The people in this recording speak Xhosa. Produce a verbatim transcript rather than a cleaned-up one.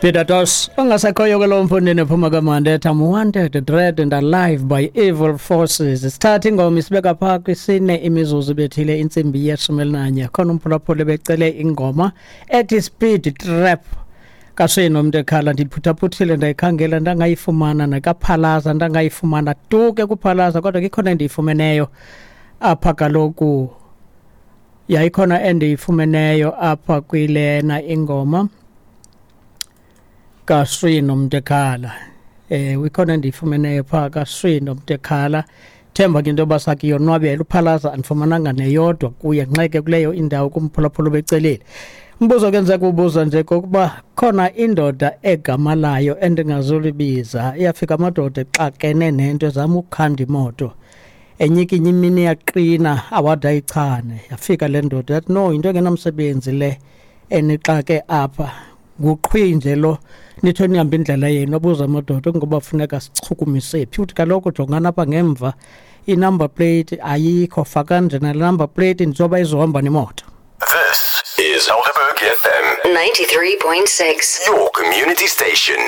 Peter Tosh ongasekhoyo ke lo mfundini ephuma kamandi ethi "I'm wanted, dread and alive by evil forces." Sithatha ingoma isibeka phaa kwisine imizuzu ibethile intsimbi yeshumi elinanye. Khona umphulaphuli becele ingoma ethi "Speed Trap" kaSwino Mntekhala. Ndiphuthaphutshile, ndayikhangela, ndangayifumana, nakaphalaza ndangayifumana tu ke kuphalaza, kodwa ke ikhona endiyifumeneyo apha. Kaloku yayikhona endiyifumeneyo apha kwilena ingoma kaSwino Mntekhala. eh ikhona endiyifumeneyo phaa kaSwino Mntekhala. Themba ke into yoba sakuyonwabela. Uphalaza andifumananga neyodwa kuye nxeke kuleyo indawo kumphulaphula becelile. Umbuzo ke ndiza kuwubuza nje kokuba khona indoda egama layo endingazulibiza, iyafika amadoda exakene nento ezama ukukhanda imoto enyikinye imini yaqina awade ayichane. Yafika le ndoda yathi, "No, yinto engenamsebenzi le enixake apha, nguqhwi nje lo, nitho nihambe indlela yenu." Abuza amadoda ngoba funeka sichukumise phi? Uthi, "Kaloku jongana apha ngemva, i-number plate ayikho, faka nje nale number plate njengoba izohamba nemoto." This is Helderberg F M ninety-three point six. Your community station.